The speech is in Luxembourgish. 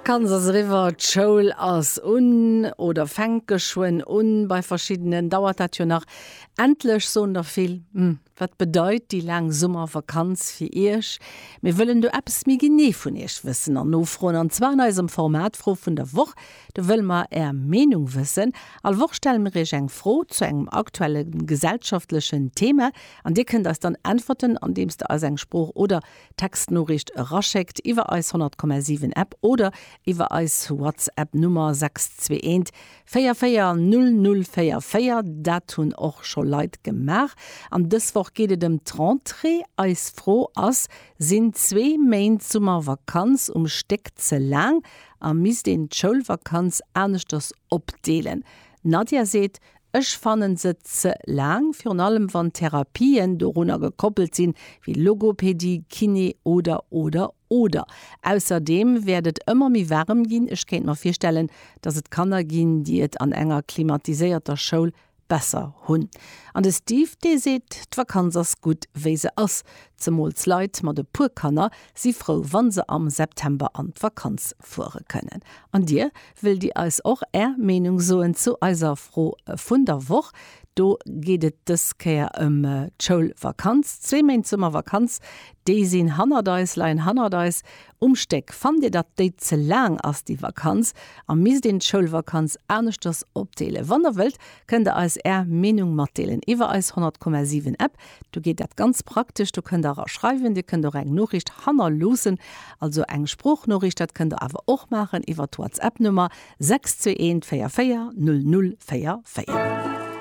D'Vakanz ass eriwwer, d'Schoul ass un oder fänkt geschwënn un. Bei verschiddenen dauert dat jo nach. Endlech, soen der vill. Hm, wat bedeit déi laang Summervakanz fir Iech? Mir wëllen do eppes méi genee vun Iech wëssen an nofroen, an zwar an eisem Format Fro vun der Woch. Do wëlle mer Är Meenung wëssen. All Woch stelle mir Iech eng Fro zu engem aktuelle gesellschaftlechen Thema an Dir kënnt eis dann äntwerten, andeems der eis eng Sprooch oder Textnoriicht eraschéckt iwwer eis 100,7 App oder iwwer eis WhatsApp Nummer 621 44 0044. Dat hunn och scho Leit gemaach. An dës Woch geet et ëm d'Rentrée. Eis Fro ass, Sinn zwee Méint Summervakanz um Stéck ze laang a misst een d'Schoulvakanz aneschters opdeelen? D'Nadia seet, Ech fannen se ze laang, virun allem wann Therapien dorunner gekoppelt sinn, wéi Logopädie, Kiné oder oder oder. Ausserdeem wäert et ëmmer méi waarem ginn, ech kéint mer virstellen, dass et Kanner ginn, déi et an enger klimatiséierter Schoul besser hunn. An de Steve, dee seet, d'Vakanz ass gutt wéi se ass, zemools Leit mat e puer Kanner si frou, wann se am September an d'Vakanz fuere kënnen. An dir, Wëllt Dir eis och Är Meenung soen zu eiser Fro vun der Woch? Do geet et dës Kéier ëm d'Schoulvakanz. Zwee Méint Summervakanz, déi sinn hannert eis, leien hannert eis um Stéck. Fannt Dir, datt déi ze laang ass, déi Vakanz, a misst een d'Schoulvakanz aneschters opdeelen? Wann Der wëllt, kënnt Der eis Är Meenung matdeelen iwwer eis 100,7 App. Do geet dat ganz praktesch, do kënnt der era schreiwen, Dir kënnt och eng Noriicht hannerloossen, also eng Sproochnoriicht, dat kënnt der awer och maachen iwwer d'Whatsapp-Nummer 621 44 00 44.